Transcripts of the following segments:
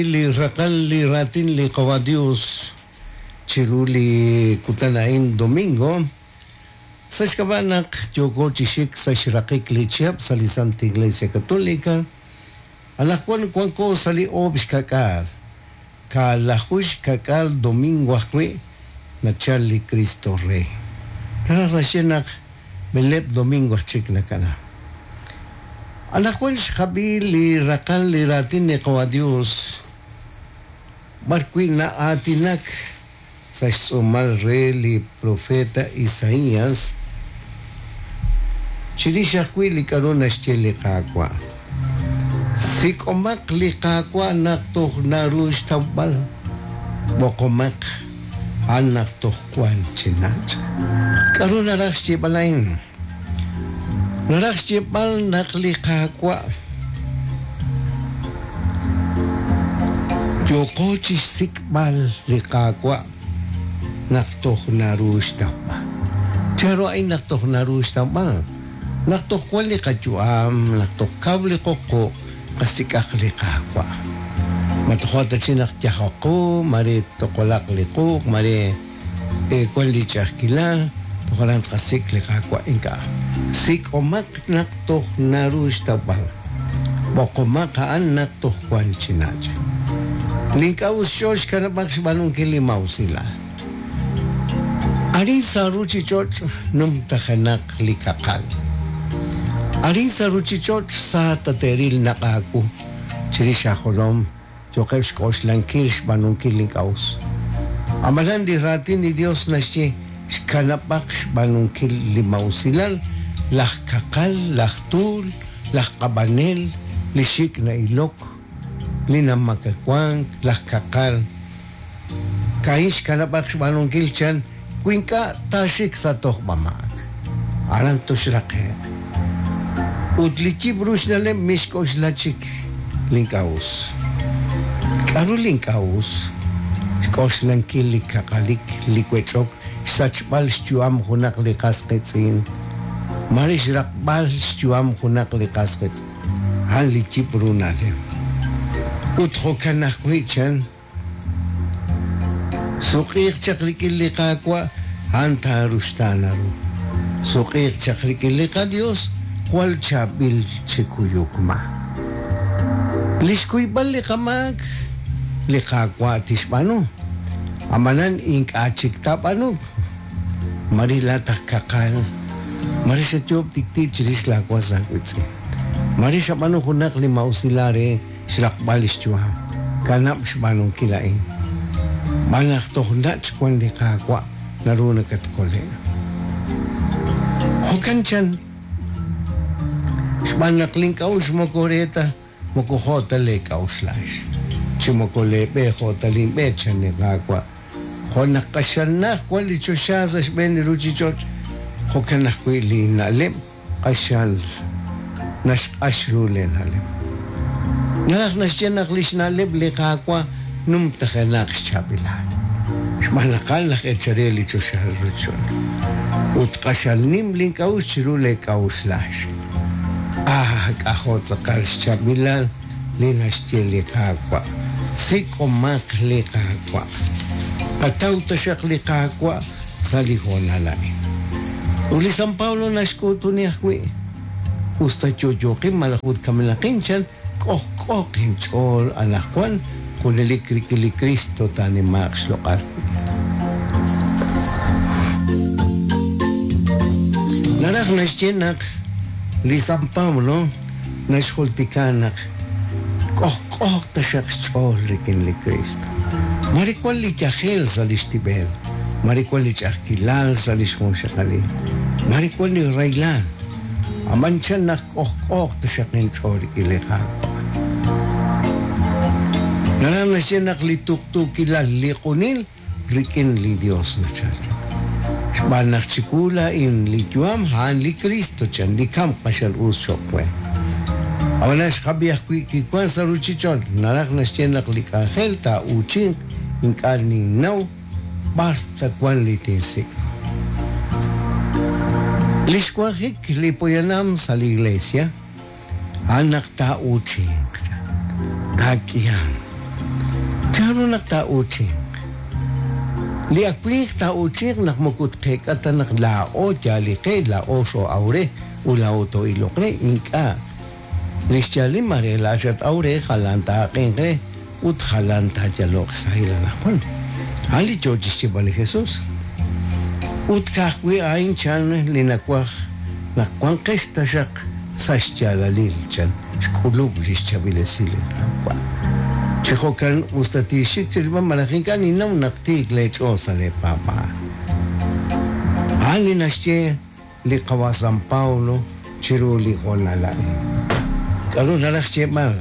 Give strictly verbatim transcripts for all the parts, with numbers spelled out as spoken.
Li raqal li raatin li Qawa' Dios chiru li kutan a'in domingo sa' xk'ab'a' naq yooko chi xik sa' xraqik li chihab' sa' li Santa Iglesia Católica anaqwan wanko sa' li oob' xka'k'aal kaalaju xka'k'aal domingo ajwi' nachal li Cristo Rey naraj naxye naq b'eleeb' domingo aj chik nakana anaqwan xqab'i li raqal li raatin li Qawa' Dios b'ar wi' na'aatinak sa' xtz'uumal re li profeta Isaías chirix ajwi' li k'a'ru naxye li Qaawa' sik'omaq li Qaawa' naq toj naru xtawb'al b'oqomaq a'an naq toj wan chi nach' k'a'ru naraj xyeeb'al a'in naraj xyeeb'al naq li Qaawa' yooko chi xsik'b'al li Qaawa' naq toj naru xtawb'al chanru a'in naq toj naru xtawb'al naq toj wan li qayu'am naq toj kaw li qoqo' qasik'aq li Qaawa' ma tojo ta chi naq yajaqu mare toqolaq li quuq mare wan li ch'a'ajkilal tojalan qasik' li Qaawa' ink'a' sik'omaq naq toj naru xtawb'al b'oqomaq a'an naq toj wan chi nach' li ink'a' us xch'ool xkanab'aq xb'aanunkil li mawsilal arin sa' ruchich'och' numtajenaq li kaqal arin sa' ruchich'och' sa tate'ril naq aawu chirix ajolom yoqeb' xk'oxlankil xb'aanunkil li ink'a' us amalan li raatin li Dios naxye xkanab'aq xb'aanunkil li mawsilal laj kaqal laj tuul laj q'ab'anel li xik' na'ilok li namakawank laj kaqal ka'in xkanab'aq xb'aanunkil chan wi ink'a' taaxik sa' tojb'amaak aran toxraqe'q ut li yib' ru xna'leb' mixk'oxla chik li ink'a' us k'a'ru li ink'a' us xk'oxlankil li kaqalik li wech'ok xsachb'al xyu'am junaq li qas qiitz'in mare xraqb'al xyu'am junaq li qas qiitz'in a'an li yib' ru na'leb' ut jo'kan ajwi' chan suq'iiq chaq rik'in li Qaawa' a'an taaruxtaana ru suq'iiq chaq rik'in li qaDios jwal chaab'il chi kuyuk maak li xkuyb'al li qamaak li Qaawa' tixb'aanu amanan ink'a' chik taab'aanu mare laataq kaqal mare xayoob' tiktik chirix laawas aawiitz'in mare xab'aanu junaq li mawsilal re xraqb'al xyu'am kanab' xb'aanunkil a'in b'an naq toj nach' wan li Qaawa' naru nakatkole' jo'kan chan xb'aan naq link'a'uxl moko re ta moko jo' ta leek'a'uxlax chi moko leeb'e jo' ta linb'e chan li Qaawa' jo' naq q'axal naj wan li choxa sa' xb'een li ruchich'och' jo'kan ajwi' li na'leb' q'axal naxq'ax ru leena'leb' naraj naxye naq li xna'leb' li Qaawa' numtajenaq xchaab'ilal xb'aan naq a'an laj eechal re li choxa ruchich'och' ut q'axal nim link'a'uxl chiru leek'a'uxlax ah k'ajo' tz'aqal xchaab'ilal li naxye li Qaawa' sik'omaq li Qaawa' qataw taxaq li Qaawa' sa' li hoonal a'in ut li San Pablo naxk'uutuni ajwi' usta yo'yooqin malaj ut kamenaqin chan k'ojk'ooq inch'ool anaqwan junelik rik'in li Cristo taanimaaq xloq'al naraj naxye naq li San Pablo naxjultika naq k'ojk'ooq taxaq xch'ool rik'in li Cristo mare wan li yajel sa' li xtib'el mare wan li ch'a'ajkilal sa' li xjunxaqalil mare wan li rahilal aman chan naq k'ojk'ooq taxaq inch'ool rik'in li Qaawa' naraj naxye naq li tuqtuukilal li q'unil rik'in li Dios nachal chaq xb'aan naq chiwu laa'in li yu'am a'an li Cristo chan li kamk q'axal us cho'q we ab'anan xqab'i ajwi' kiwan sa' ruchich'och' naraj naxye naq li k'anjel taa'uuchinq ink'a' ninnaw b'ar ta wan li tinsik' li xwanjik li poyanam sa' li iglesia a'an naq taa'uuchinq taak'ihan K'aru naq taa'uuchinq? Li awinq taa'uuchinq naq moko tqeek'a ta naq laa'o yaal li qe, laa'o xoo'aw re ut laa'o too'iloq re, ink'a'. Li xyaalil mare laa'at xat-aw re, jalan taa'aq'inq re ut jalan taayaloq xsahil anaqwan. A'an li yoo chi xyeeb'al li Jesús. Ut ka'ajwi' a'in chan li nawaj naq wanqex taxaq sa' xyaalalil chan xk'ulub' li xchaab'il esil li Qaawa'. Chi jo'kan us ta tiixik chirilb'al malaj ink'a' ninnaw naq tiik leech'ool sa' leepaab'aal. A'an li naxye li qawa' San Paulo chiru li hoonal a'in. K'aru naraj xyeeb'al?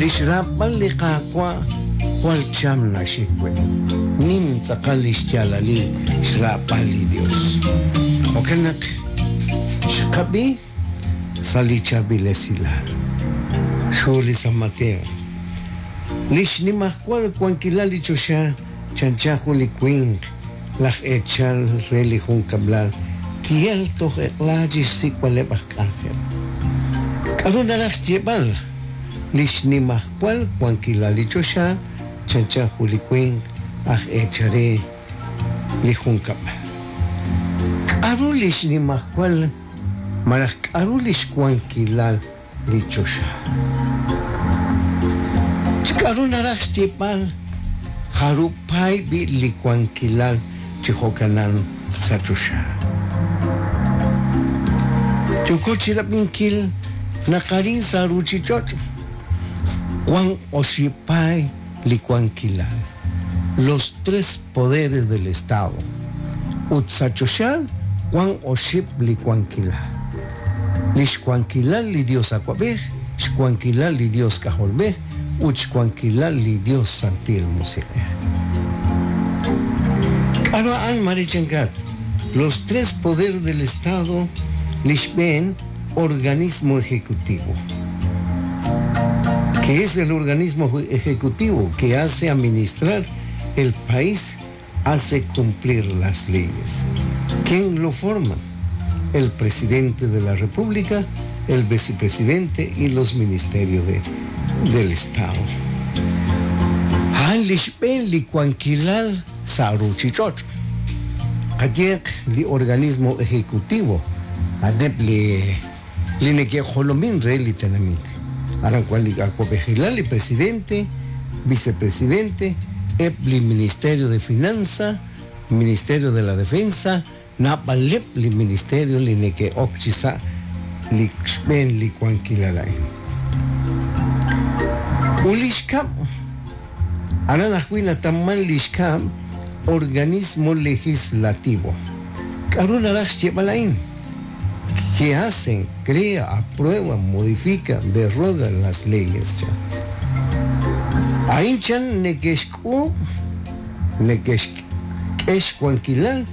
Li xraab'al li Qaawa' jwal cham naxik we. Nim tz'aqal li xyaalalil xraab'al li Dios. Jo'kan naq xqab'i sa' li chaab'il esilal. Xhu li San Mateo. Li xnimajwal wankilal li choxa chanchan jun li winq laj eechal re li junkab'lal ki'el toj eq'la chi xsik'b'aleb' aj k'anjel. K'aru naraj xyeeb'al? Li xnimajwal wankilal li choxa chanchan jun li winq aj eechal re li junkab'lal. K'aru li xnimajwal malaj k'aru li xwankilal li choxa? K'aru naraj xyeeb'al jarupay b'i li wankilal chi jo'kanan sa' choxa? Yooko chi rab'inkil naq arin sa' ruchich'och' wan oxib' paay li wankilal, los tres poderes del Estado. Ut sa' choxa wan oxib' li wankilal. Li xwankilal li Dios awab'ej, xwankilal li Dios k'ajolb'ej ut xwankilal li Dios Santil Musiq'ej. K'aru a'an marichankat? Los tres poderes del Estado li xb'een organismo ejecutivo. Que es el organismo ejecutivo que hace administrar el país, hace cumplir las leyes. ¿Quién lo forma? El presidente de la República, el vicepresidente y los ministerios de, del Estado. A'an li xb'een li wankilal sa' ruchich'och'. Qayeq li organismo ejecutivo, a'aneb' li li neke'jolomin re li tenamit. Aran wan li awab'ejilal, li presidente, vicepresidente, eb' li Ministerio de Finanza, Ministerio de la Defensa, naab'aleb' li ministerio li neke'ok chi sa' li xb'een li wankilal a'in. Ut li xkab', aran ajwi' natamman li xkab' organismo legislativo. K'aru naraj xyeeb'al a'in? Que hacen, crea, aprueba, modifica, derroga las leyes chan. A'in chan neke'xk'uub', neke'xk'e xwankilal,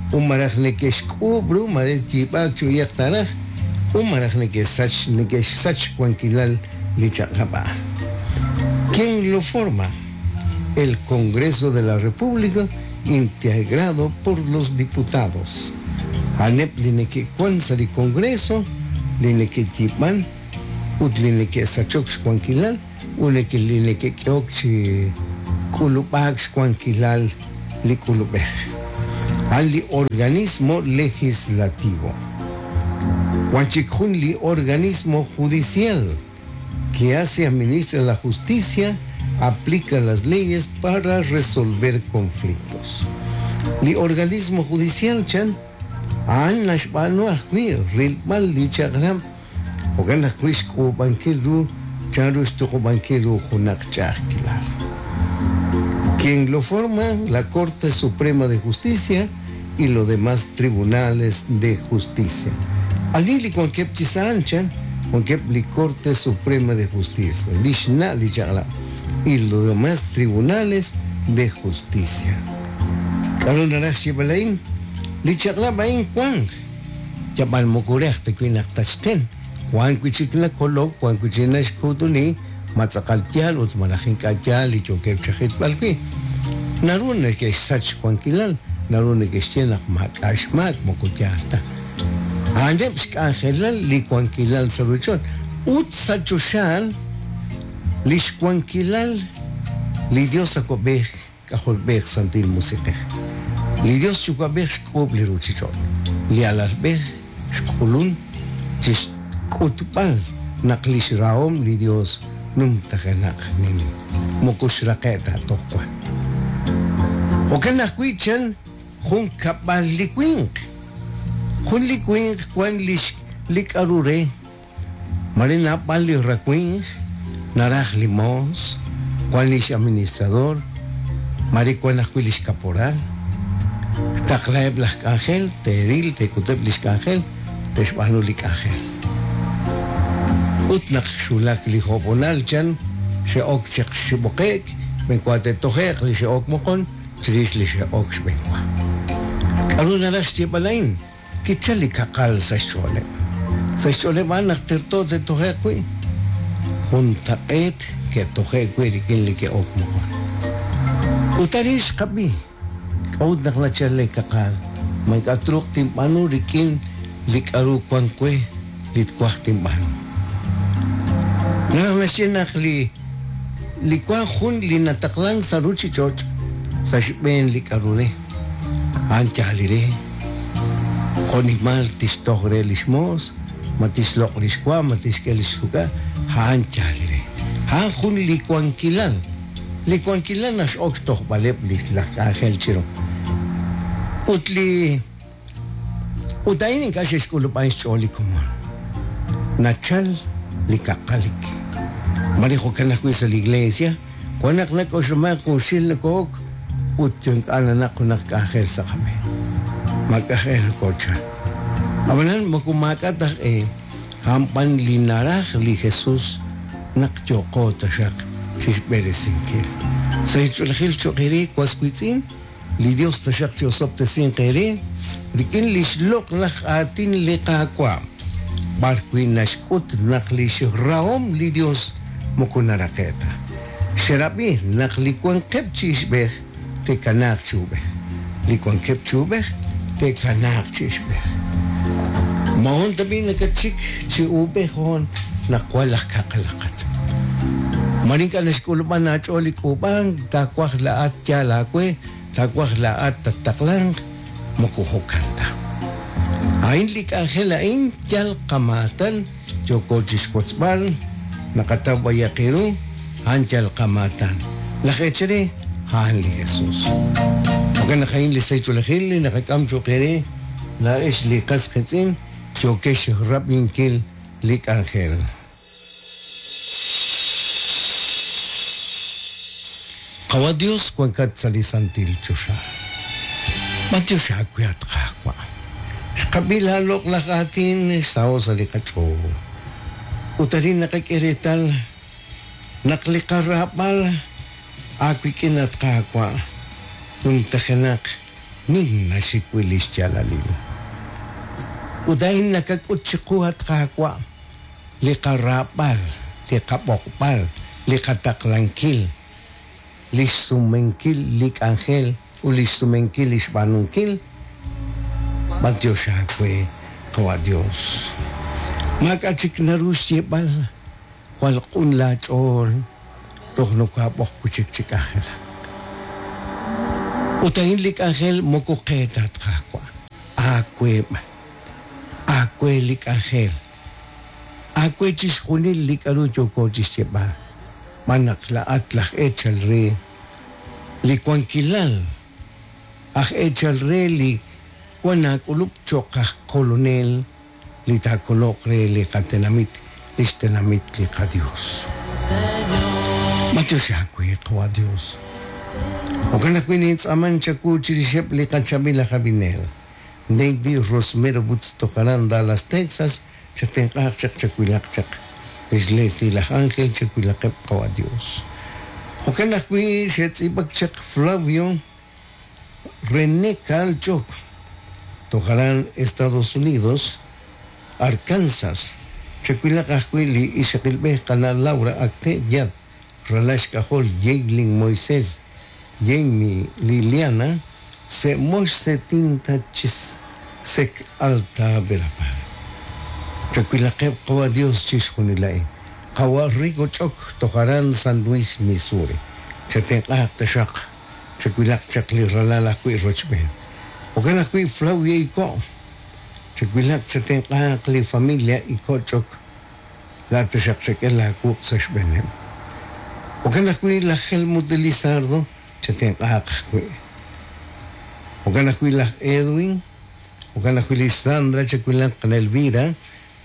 ut malaj neke'xk'uub' ru mare yiib'aak chuyaq taraj, ut malaj neke'sach neke'xsach xwankilal li chaq'rab' a'an. ¿Quién lo forma? El Congreso de la República, integrado por los diputados. A'aneb' li neke'wan sa' li Congreso, li neke'yiib'an ut li neke'sachok xwankilal ut neke li neke'k'ehok chi k'ulub'aak xwankilal li k'ulub'ej. A'an li organismo legislativo. Wan chik jun li organismo judicial que hace administra la justicia, aplica las leyes para resolver conflictos. Li organismo judicial chan a'an naxb'aanu ajwi' rilb'al li chaq'rab' jo'kan ajwi' xk'uub'ankil ru chanru xtuqub'ankil ru junaq ch'a'ajkilal. Quien lo forma? La Corte Suprema de Justicia y los demás tribunales de justicia. Ani li wankeb' chi sa' chan wankeb' li Corte Suprema de Justicia, li xna' li chaq'rab' y los demás tribunales de justicia. K'aru naraj xyeeb'al a'in? Li chaq'rab' a'in wan yab'al moko re ta wi' naq taxten, wan wi' chik nakolok, wan wi' chik naxkuutuni, ma tz'aqal yaal ut malaj ink'a' yaal li yookeb' chajitb'al wi'. Naru neke'xsach xwankilal, naru neke'xye naq maak'a' xmaak moko yaal ta. A'aneb' xk'anjelal li wankilal sa' ruuchich'och' ut sa' choxaal li xwankilal li Dios Awab'ej K'ajolb'ej Santil Musiq'ej. Li Dios Yuwa'b'ej xk'uub' li ruuchich'och'. Li alalb'ej xk'ulun chi xk'utb'al naq li xrahom li Dios numtajenaq nim moko xraqe' ta toj wan. Jo'kan ajwi' chan jun kab'al li winq. Jun li winq wan li li k'aru re. Mare naab'al li rawinq naraj li moos, wan lix administrador, mare wan ajwi' lix caporal. Taqlaheb' laj k'anjel, teeril, teek'uteb' lix k'anjel, te'xb'aanu li k'anjel. Ut naq xwulak li job'onal chan xe'ok chaq xib'oqe'k, b'enwa te'toje'q li xe'ok moqon chirix li xe'ok xb'enwa. K'aru naraj xyeeb'al a'in? Kichal li kaqal sa' xch'ooleb'. Sa' xch'ooleb' a'an naq terto te'toje'q wi'. Juntaq'eet ke'toje'k wi' rik'in li ke'ok moqon. Ut arin xqab'i k'a'ut naq nachal li kaqal. Ma ink'a' truuq tinb'aanu rik'in li k'aru wan we li twaj tinb'aanu. Naraj naxye naq li li wan jun li nataqlan sa' ruuchich'och' sa' xb'een li k'aru re. A'an yaal li re. Jo'nimal tixtoj re lix moos, ma tixloq' lix wa, ma tixk'e lix ruk'a, a'an yaal li re. A'an jun li wankilal. Li wankilal nax'ok xtojb'aleb' li laj k'anjel chiru. Ut li ut a'in ink'a' xe'xk'ulub'an xch'ool li komon. Nachal li kaqalik. Mare jo'kan ajwi' sa' li iglesia, wan naq nak'oxlaman junxil nako'ok ut ink'a' nanaq junaq k'anjel sa' qab'een. Maak'ajel nakochal. Ab'anan moko maak'a' taj e a'an b'an li naraj li Jesus naq yo'qo taxaq chixb'eresinkil. Sa' xch'oolejil cho'q eere was wiitz'in, li Dios taxaq chi'osob'tesinq eere rik'in li xloq'laj aatin li Qaawa'. B'ar wi' naxk'ut naq li xrahom li Dios moko naraqe' ta. Xerab'i naq li wankeb' chi ixb'ej te'kanaaq chi ub'ej. Li wankeb' chi ub'ej te'kanaaq chi ixb'ej. Mahon tab'i nakatxik chi ub'ej hoon naq wan laj kaqalaqat. Mare ink'a' naxk'ulub'an aach'ool li k'uub'ank, taawaj la'at yaal aawe, taawaj la'at tattaqlanq, moko jo'kan ta. A'in li k'anjel a'in yal qamaatan yooko chixwotzb'al, naqataw b'ayaq eeru, a'an yal qamaatan. Laj eechare, a'an li Jesus. Jo'kan naq a'in li sahil li naqak'am cho'q eere, laa'ex li qas qiitz'in yookex rab'inkil li k'anjel. Qawa Dios wankat sa' li santil choxa. Matiox aawe at Qaawa'. Xqab'i laaloq'laj aatin xsaho' sa' li qach'ool. Ut arin naqak'e reetal naq li qaraab'al aawik'in at Qaawa' numtajenaq nim naxik wi' li xyaalalil. Ut a'in nakak'ut chiqu at Qaawa' li qaraab'al, li qab'oqb'al, li qataqlankil, li xsumenkil li k'anjel ut li xsumenkil li xb'aanunkil. Matiox aawe Qawa Dios. Maak'a' chik naru xyeeb'al jwal q'un laach'ool toj nokoab'oq wi' chik chi k'anjelak. Ut a'in li k'anjel moko qe ta at Qaawa'. Aawe b'an. Aawe li k'anjel. Aawe chixjunil li k'aru yooko chixyeeb'al. B'an naq la'at laj eechal re li wankilal, aj eechal re li wan aak'ulub' cho'q aj kolonel li taakoloq re li qatenamit, li xtenamit li qaDios. Matiox aawe Qawa Dios. Jo'kan ajwi' nintz'aaman chawu chirixeb' li qachaab'il aj ab'inel. Neidy Rosmero Butz tojaran Dallas, Texas, chatenq'aaq chaq chawilaq chaq. Lix Leslie laj Ángel chawilaqeb' Qawa Dios. Jo'kan ajwi' xe'tz'iib'ak chaq Flavio René Calchoc, tojaran Estados Unidos, Arkansas. Chawilaq ajwi' li ixaqilb'ej qana' Laura Acte Yad, Ralax K'ajol Yeilin Moisés, Jamie Liliana, Semox Setinta Chis Sek Alta Verapaz. Chakwilaqeb' qawa Dios chixjunil a'in. Qawa Rico Ch'ok toj aran San Luis, Missouri. Chatenq'aaq taxaq chakwilaq chaq li ralal ajwi' rochb'een. Jo'kan ajwi' Flavia Iko'. Chakwilaq chatenq'aaq li familia Iko' Ch'ok. Laat taxaq chak'e laawuq' sa' xb'eeneb'. Jo'kan ajwi' laj Helmut Elizardo chatenq'aaq ajwi'. Jo'kan ajwi' laj Edwin. Jo'kan ajwi' li Sandra chakwilaq qana Elvira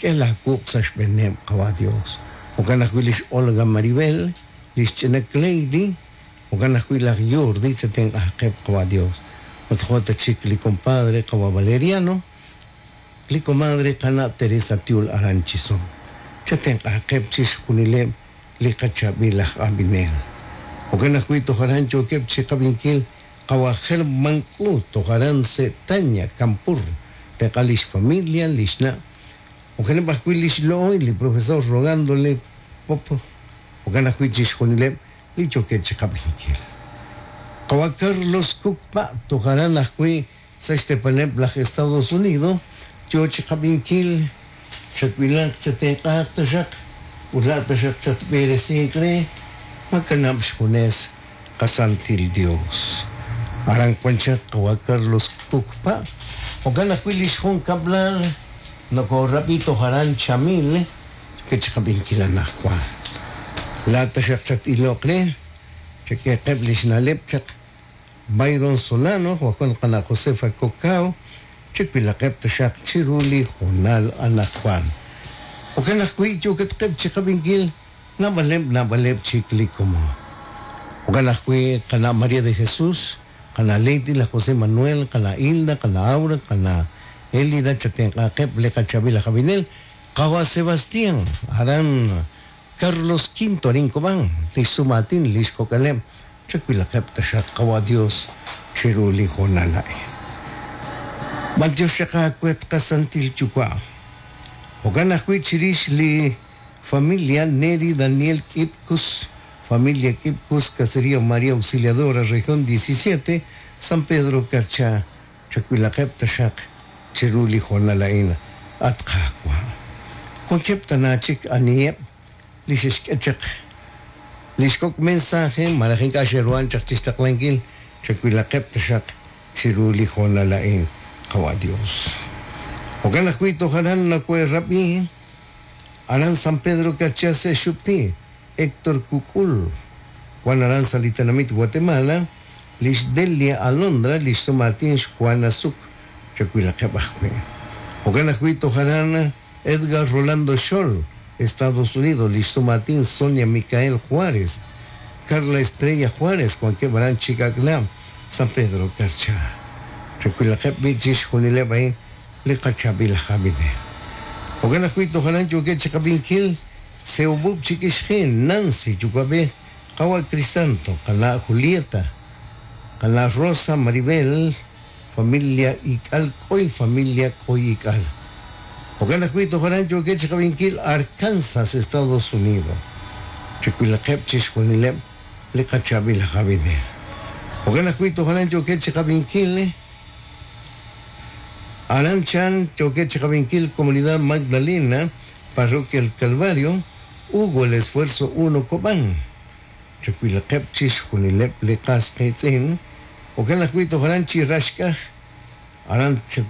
k'e laawuq' sa' xb'eeneb' qawa Dios. Jo'kan ajwi' lix Olga Maribel, lix ch'ina Cleidy, jo'kan ajwi' laj Jordi chatenq'aaqeb' qawa Dios. Ut jo' ta chik li compadre qawa Valeriano, li comadre qana Teresa Tiul aran Chisón. Chatenq'aaqeb' chixjunileb' li qachaab'il laj ab'inel. Jo'kan ajwi' toj aran yookeb' chiqab'inkil qawa Germán K'u toj aran Setaña, Campur. Tenq'a lix familia, lix na'. Jo'kaneb' ajwi' lix lo'oy, li profesor rogándole pop. Jo'kan ajwi' chixjunileb' li yookeb' chiqab'inkil. Qawa Carlos Kukpa toj aran ajwi' sa' xtepaneb' laj Estados Unidos yoo chiqab'inkil chakwilaq chatenq'aaq taxaq ut laat taxaq chatb'eresinq re makanab' xjunes qasantil Dios. Aran wan chaq qawa Carlos Kukpa jo'kan ajwi' lix junkab'lal nokorab'i toj aran Chamil ke chiqab'inkil anaqwan. Laat taxaq chat-iloq re chak'eqeb' lix na'leb' chaq Byron Solano, Joaquín qana Josefa Cocao, chakwilaqeb' taxaq chiru li hoonal anaqwan. Jo'kan ajwi' yookatqeb' chiqab'inkil naab'aleb' naab'aleb' chik li komon. Jo'kan ajwi' qana María de Jesús, qana Lady, la José Manuel, qana Hilda, qana Aura, qana Elida, chatenq'aaqeb' li qachaab'il aj ab'inel, qawa Sebastián, aran Carlos Quinto arin Cobán, tixsumatin lix kok'aleb' chakwilaqeb' taxaq qawa Dios chiru li hoonal a'in. B'antiox xaqaawet qasantil yuwa'. Jo'kan ajwi' chirix li familia Neri Daniel Kipkus, familia Kipkus, Caserío María Auxiliadora, región diecisiete, San Pedro Carchá, chakwilaqeb' taxaq chiru li hoonal a'in at qaawa'. Wankeb' tana chik aniheb' li xexk'e chaq lix kok' mensaje malaj ink'a' xeruhan chaq chixtaqlankil chakwilaqeb' taxaq chiru li hoonal a'in qawa Dios. Jo'kan ajwi' toj aran nakuerab'i aran San Pedro Carchá se xupti Héctor Cucul, Juan aran Salitanamit Guatemala, lix Delia Alondra, lix Sumatin Juana Zuk, chakwilaqeb' ajwi'. Jo'kan ajwi' toj aran Edgar Rolando Scholl, Estados Unidos, lix Sumatin Sonia Micael Juárez, Carla Estrella Juárez, wankeb' aran Chicacnam, San Pedro Carchá. Chakwilaqeb' bi chixjunileb' a'in li qachaab'il aj ab'inel. Jo'kan ajwi' toj aran yookeb' chiqab'inkil Seubub chikixjin, Nancy yuwa'b'ej, qawa Crisanto, qana Julieta, qana Rosa Maribel, familia Ik'al K'oy, familia K'oy Ik'al. Jo'kan ajwi' toj aran yookeb' chiqab'inkil Arkansas, Estados Unidos. Chakwilaqeb' chixjunileb' li qachaab'il aj ab'inel. Jo'kan ajwi' toj aran yookeb' chiqab'inkil Aran Chan, yookeb' chiqab'inkil Comunidad Magdalena, Parroquia El Calvario, Hugo el Esfuerzo uno Cobán. Chakwilaqeb' chixjunileb' li qas qiitz'in. Jo'kan ajwi' toj aran chi raxk'aj aran chakwilaqeb'